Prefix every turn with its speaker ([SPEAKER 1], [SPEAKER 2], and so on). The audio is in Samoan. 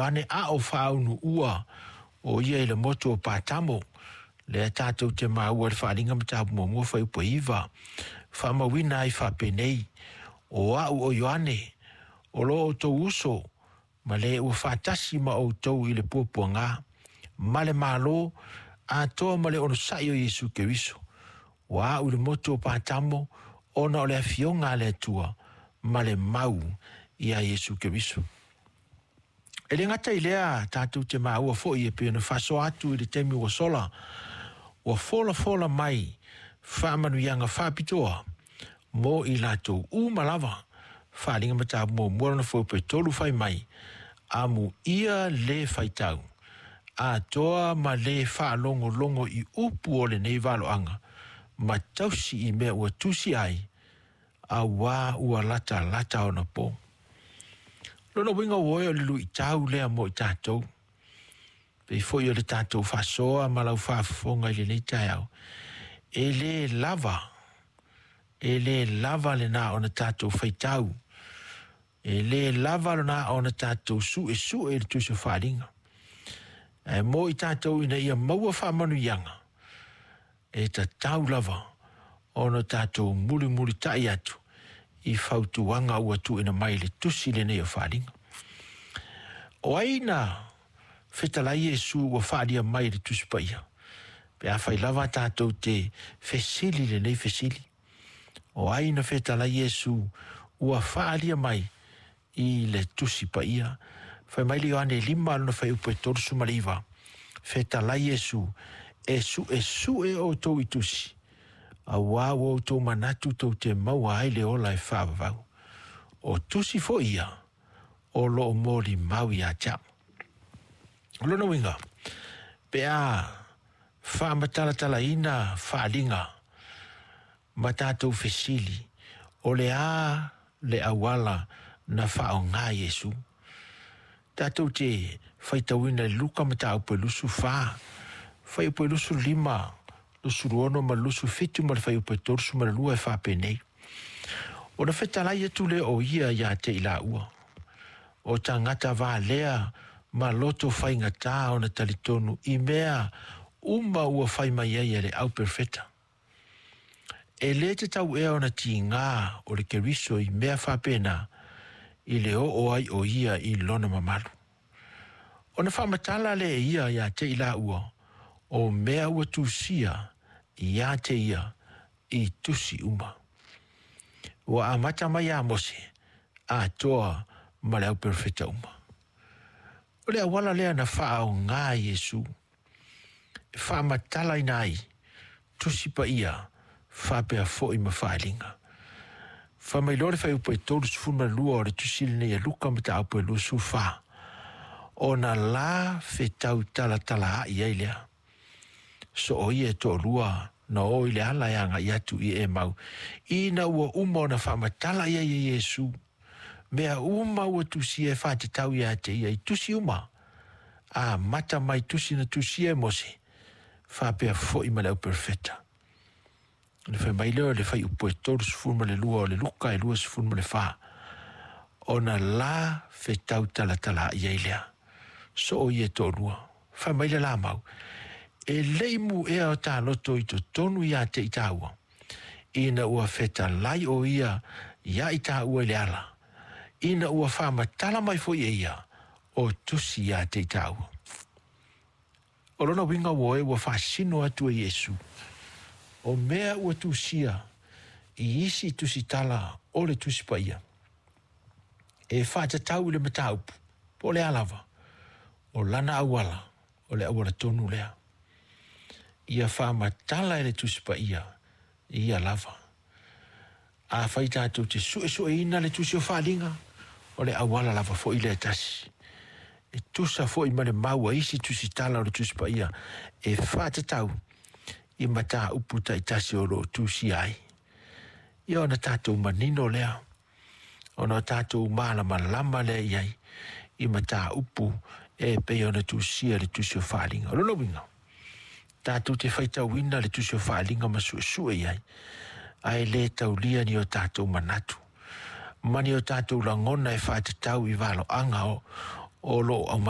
[SPEAKER 1] Ioane a o faaunuua o ia i le motu o Patamo, lea tatou te maua i le Faaaliga mataupu 1 fuaiupu 9, faamauina ai faapenei, “O au o Ioane, o lo outou uso, ma le ua faatasi ma outou i le puapuaga, ma le Malo, atoa ma le onosai o Iesu Keriso. Ua au i le motu o Patamo, ona o le afioga a le Atua, ma le mau ia Iesu Keriso.” E le gata i lea, tatou te maua foi e pei ona faasoa atu i le taimi ua sola, ua folafola mai faamanuiaga faapitoa mo i latou uma lava. Faaaliga mataupu 1 lona fuaiupu 3 fai mai, “Amuia le faitau atoa ma le faalogologo i upu o lenei valoaga, ma tausi i mea ua tusi ai, auā ua latalata ona po.” Lona uiga ua oe o le luitau lea mo i tatou, pei foi o le tatou faasoa ma lau faafofoga i lenei taeao, e le lava, e le lava lena ona tatou faitau, e le lava lena ona tatou suesue i le Tusi o Faaaliga. Ae mo i tatou ina ia maua faamanuiaga, e tatau lava ona tatou mulimulitai atu i fautuaga ua tuuina mai i le tusi lenei o Faaaliga. O ai na fetalai Iesu ua faaalia mai i le Tusi Paia? Pe afai lava tatou te fesili i lenei fesili. O ai na fetalai Iesu ua faaalia mai i le Tusi Paia? Fai mai le Ioane 5 lona fuaiupu e 39, fetalai Iesu, “E suesue outou i tusi, auā ua outou manatu tou te maua ai le ola e faavavau. O tusi foi ia o lo o molimau ia te au.” O lona uiga, pe a faamatalatalaina faaaliga ma tatou fesili, o le a le auala na faaaoga e Iesu? Tatou te faitauina i Luka mataupu e 24, fuaiupu e 25, 26 ma le 27 ma le fuaiupu e 32 e faapenei. Ona fetalai atu lea o ia ia te i laua, “O tagata valea ma loto faigata ona talitonu i mea uma ua fai mai ai e le au perofeta. E le tatau ea ona tiga o le Keriso i mea faapena i le oo ai o ia i lona mamalu?” Ona faamatala lea e ia ia te i laua, o mea ua tusia ia te ia i tusi uma. Ua amata mai ia Mose, atoa ma le au perofeta uma. O le auala lea na faaaoga e Iesu, e faamatalaina ai Tusi Paia faapea foi ma faaaliga. Fai mai loa le fuaiupu e 32 o le tusi lenei a Luka mataupu e 24, ona la fetau talatalaai ai lea. So o ia e toalua na o i le ala e agai atu i Emau, ina ua uma ona faamatala i ai e Iesu mea uma ua tusia e faatatau ia te ia i tusi uma, amata mai tusi na tusia e Mose, faapea foi ma le au perofeta. Ona fai mai lea o le fuaiupu e 32 o le Luka e 24, ona la fetau talatalaai ai lea. So o ia e toalua. Fai mai le la mau, “E le i mu'ea o ta loto i totonu ia te i tāua, ina ua fetalai o ia ia i tāua i le ala, ina ua faamatala mai foi e ia o tusi ia te i tāua.” O lona uiga ua oe ua faasino atu e Iesu, o mea ua tusia i isi tusitala o le Tusi Paia, e faatatau i le mataupu, po o le a lava, o lana auala, o le auala tonu lea. Ia faamatala e le Tusi Paia, ia lava. Afai tatou te suesueina le tusi o Faaaliga, o le auala lava foi lea e tasi. E tusa foi ma le mau a isi tusitala o le Tusi Paia, e faatatau i mataupu taitasi o lo o tusia ai. Ia ona tatou manino lea, ona o tatou malamalama lea i ai i mataupu e pei ona tusia le tusi o Faaaliga. O lona uiga, tatou te faitauina le tusi o Faaaliga ma suesue i ai, ae le taulia ni o tatou manatu ma ni o tatou lagona e faatatau i valoaga o lo o aumai.